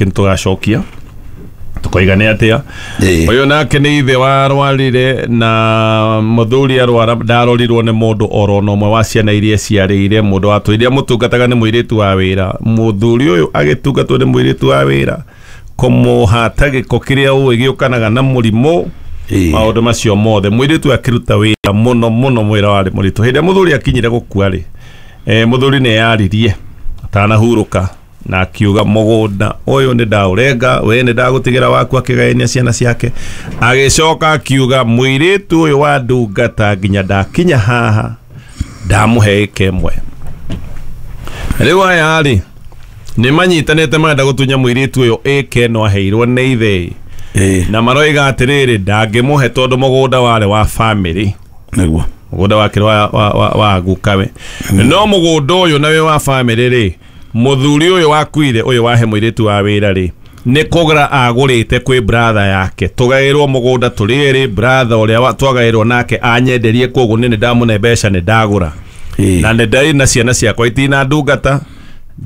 Nĩ tũgacokia tũkoiga nĩ atĩa. Ũyũ nake nĩ ithe warwarire na mũthuri arwara ndarorirwo nĩ mũndũ oro na ũmwe wa ciana iria ciarĩire mũndũ watũire mũtungataga nĩ mũirĩtu wa wĩra. Mũthuri ũyũ agĩtungatwo nĩ mũirĩtu wa wĩra kũmũhata gĩko kĩrĩa ũĩ gĩũkanaga na mũrimũ. Maũndũ macio mothe mũirĩtu akĩruta wĩra mũno mũno, mwĩra warĩ mũritũ. Hĩndĩ ĩrĩa mũthuri akinyire gũkua rĩ, mũthuri nĩ eyaririe atanahurũka na akiuga mũgũnda ũyũ nĩ ndaũrenga, we nĩ ndagũtigĩra waku, akĩgayania ciana ciake. Agĩcoka akiuga mũirĩtu ũyũ wa ndungata nginya ndakinya haha ndamũhe ĩka ĩmwe. Rĩu aya rĩ nĩ manyitanĩte marenda gũtunya mũirĩtu ũyũ ĩka ĩno aheirwo nĩ ithe. Na maroiga atĩrĩrĩ ndangĩmũhe tondũ mũgũnda warĩ wa family. Nĩguo mũgũnda wake wa gukawe. No mũgũnda ũyũ na wĩ wa family rĩ, mũthuri ũyũ wakuire ũyũ wahe mũirĩtu wa wĩra rĩ, nĩ kũgũra agũrĩte kwĩ brother yake. Tũgaĩrwo mũgũnda tũrĩ erĩ, brother ũrĩa twagaĩrwo nake anyenderie, koguo nĩ ndamũne mbeca nĩ ndagũra. Na nĩ ndarĩ na ciana ciakwa itina ndungata,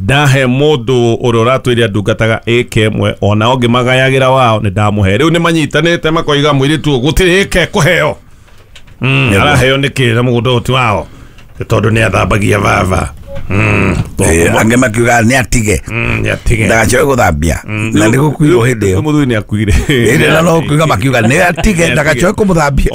ndahe mũndũ ũrĩa ũratwĩire ndungataga ĩka ĩmwe, ona ũngĩ magayagĩra wao nĩ ndamũhe. Rĩu nĩ manyitanĩte makoiga mũirĩtu ũyũ gũtirĩ ĩka ĩkũheo. Araheo nĩkĩ na mũgũnda ũyũ ti wao? Tondũ nĩ athambagia baba. Angĩ makiuga nĩ atige, ndagacoke gũthambia, na nĩ gũkuirwo hĩndĩ ĩyo. Mũthuri nĩ akuire hĩndĩ ĩyo, no kuiga makiuga nĩ atige ndagacoke kũmũthambia.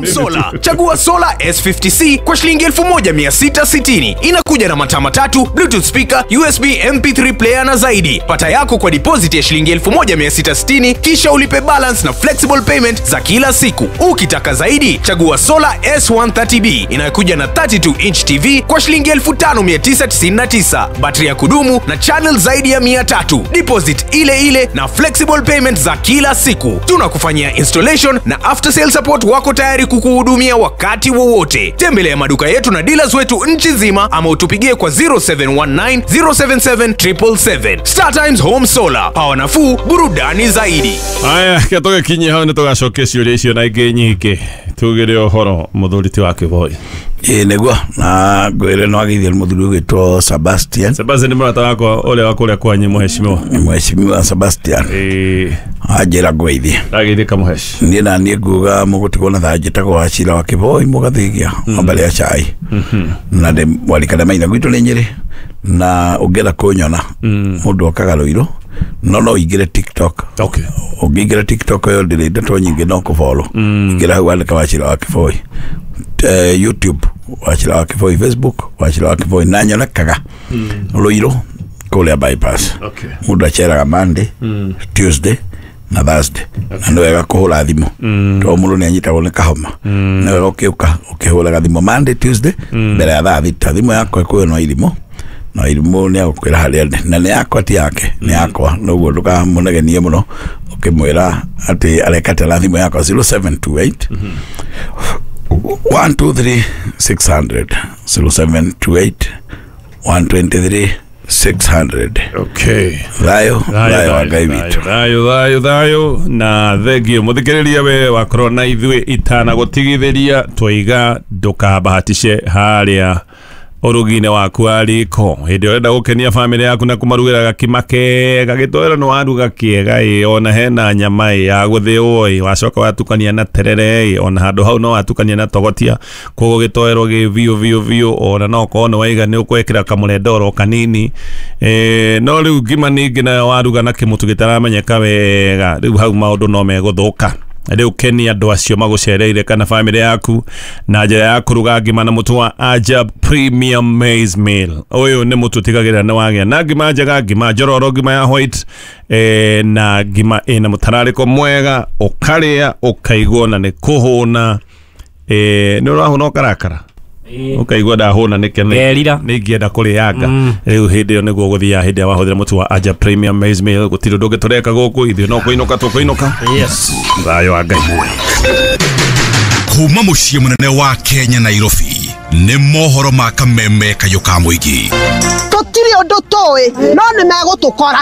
Solar. Chagua Solar S50C kwa shilingi 1660. Inakuja na mataa matatu, Bluetooth speaker, USB MP3 player na zaidi. Pata yako kwa deposit ya shilingi 1660 kisha ulipe balance na flexible payment za kila siku. Ukitaka zaidi, chagua Solar S130B inayokuja na 32 inch TV kwa shilingi 5999. Battery ya kudumu na channel zaidi ya 300. Deposit ile ile na flexible payment za kila siku. Tunakufanyia installation na after sale support, wako tayari kukuhudumia wakati wowote. Tembelea maduka yetu na dealers wetu nchi nzima ama utupigie kwa 0719 077 777. Star Times Home Solar, power nafuu, burudani zaidi. Aya, ke tũgĩkinyie hau nĩ tũgacokia ciũria icio na ingĩ nyingĩ tugĩre ũhoro mũthuri ti wa Kĩboi. Ĩĩ nĩguo, na ngwĩre no ageithie mũthuri ũgwĩtwo Sebastian. Sebastian nĩ mũrata wakwa ũrĩa wa kũrĩa kwanyu, mũheshimiwa. Mheshimiwa Sebastian. Anjĩra ngũgeithie. Ndageithĩka mũheshi. Niĩ na niĩ nguga mũgũtigwo na thayũ, njĩtagwo Wachira wa Kĩboi mũgathigia wa mbere ya cai, na ndĩ mwarikane maitha gwitũ nĩ Nyĩrĩ, na ũngĩenda kũnyona mũndũ okaga Rũirũ, no ũingĩre TikTok. Ũngĩingĩra TikTok ĩyo ndĩrĩ ndeto nyingĩ, no kũfollow. Ingĩra hau andĩka Wachira wa Kĩboi, YouTube Wachira wa Kĩboi, Facebook Wachira wa Kĩboi, na nyonekaga Rũirũ kũrĩa bypass. Mũndũ aceraga Monday, Tuesday na Thursday, na nĩ wega kũhũra thimũ tondũ mũndũ nĩ anyitagwo nĩ kahoma. Nĩ wega ũkĩũka ũkĩhũraga thimũ Monday, Tuesday mbere ya thaa 6. Thimũ yakwa ĩkũyũ no irimũ, na irimũ nĩ agũkwĩra harĩa ndĩ, na nĩ yakwa ti yake, nĩ yakwa, noguo ndũkamũnegenie mũno ũkĩmwĩra atĩ areka atĩa na thimũ yakwa. 0728 123 600, 0728 123 600. Thayũ, thayũ wa Ngai witũ. Thayũ, thayũ, thayũ na thengio mũthikĩrĩria we wakorwo na ithuĩ itanagũtigithĩria twaiga ndũkabahatishe harĩa ũrugi-inĩ waku wa riko hĩndĩ ĩrĩa ũrenda gũkenia famĩlĩ yaku na kũmarugĩra gakima kega gĩtoero nĩ waruga kĩega ĩ ona hena nyama ĩ ya gũthĩo ĩ wacoka watukania na terere ĩ ona handũ hau no watukania na togotia koguo gĩtoero gĩ biũ biũ biũ ona no korwo nĩ waiga nĩ ũkwĩkĩra kamũrendoro kanini no rĩu ngima ningĩ nayo waruga na kĩmũtu gĩtaramenyeka wega rĩu hau maũndũ no megũthũka. Rĩu kenia andũ acio magũcereire kana famĩlĩ yaku na njĩra ya kũruga ngima na mũtu wa Ajab Premium Maize Meal. Ũyũ nĩ mũtu ũtigagĩrĩra nĩ wagĩa na ngima njega, ngima njororo, ngima ya white na ngima ĩna mũtararĩko mwega, ũkarĩa ũkaigua na nĩ kũhũna. Nĩ ũrahũna ũkarakara ukaigua ndahũna nĩkĩ nĩ ingĩenda kũrĩanga. Rĩu hĩndĩ ĩyo nĩguo gũthiaga hĩndĩ ĩrĩa wahũthĩra mũtu wa Ajab Premium Maize Meal. Gũtirĩ ũndũ ũngĩ tũreka gũkũ ithuĩ no kũinũka tũkũinũka. Yes. Thayũ wa Ngai. Kuma mũciĩ mũnene wa Kenya Nairobi nĩ mohoro ma kameme kayũ ka mũingĩ. Tũtirĩ ũndũ tũĩ no nĩ megũtũkora.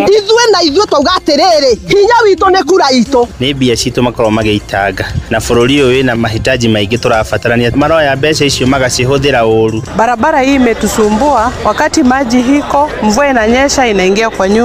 Ithuĩ na ithuĩ twauga atĩrĩrĩ, hinya witũ nĩ kura itũ. Nĩ mbia citũ makoragwo magĩitanga na bũrũri ũyũ wĩna mahitaji maingĩ tũrabatarania, maroya mbeca icio magacihũthĩra ũru. Barabara hii imetusumbua, wakati maji hiko, mvua inanyesha inaingia kwa nyumba.